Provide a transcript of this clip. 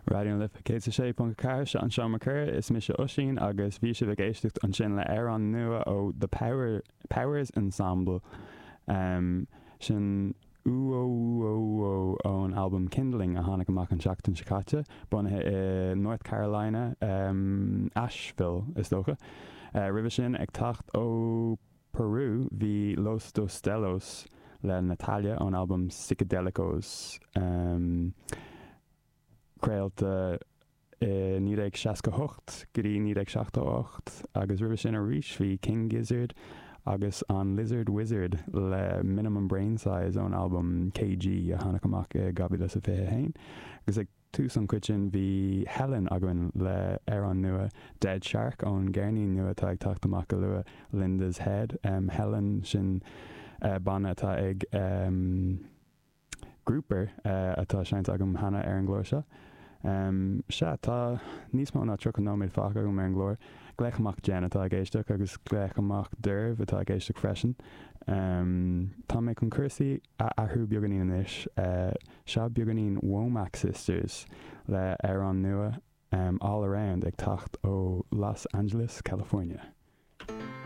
Raidió na Life 106.4, seo an Seomra Comhrá, is mise Oisín agus bhí sibh ag éisteacht ansin le amhrán nua ó The Power, Powers Ensemble, sin Uo Uo Uo ón albam Kindling a tháinig amach an tseachtain seo caite, bunaithe i North Carolina, Asheville is dócha. Roimhe sin, ag teacht ó Peru, bhí Los Dos Delos le Natalia ón albam Psicodélicos, craolta i 1968 go dtí 1978, agus roimhe sin arís bhí King Gizzard agus an Lizard Wizard le Minimum Brain Size ón albam KG a tháinig amach i 2021. Agus ag tús an chuid sin bhí Helen againn le amhrán nua Dead Shark ón gceirnín nua atá ag teacht amach go luath, Linda's Head. Helen, sin banna atá ag Grouper atá seinnte agam cheana ar an gclár seo. Sea, tá níos mó ná 30 nóiméad fágtha agam ar an gclár. Glaoch amach Jen atá ag éisteacht agus glaoch amach Derv atá ag éisteacht freisin. Tá mé chun cúrsaí a athrú beagáinín anois. Seo beagáinín Womack Sisters le amhrán nua, All Around, ag teacht ó Los Angeles, California.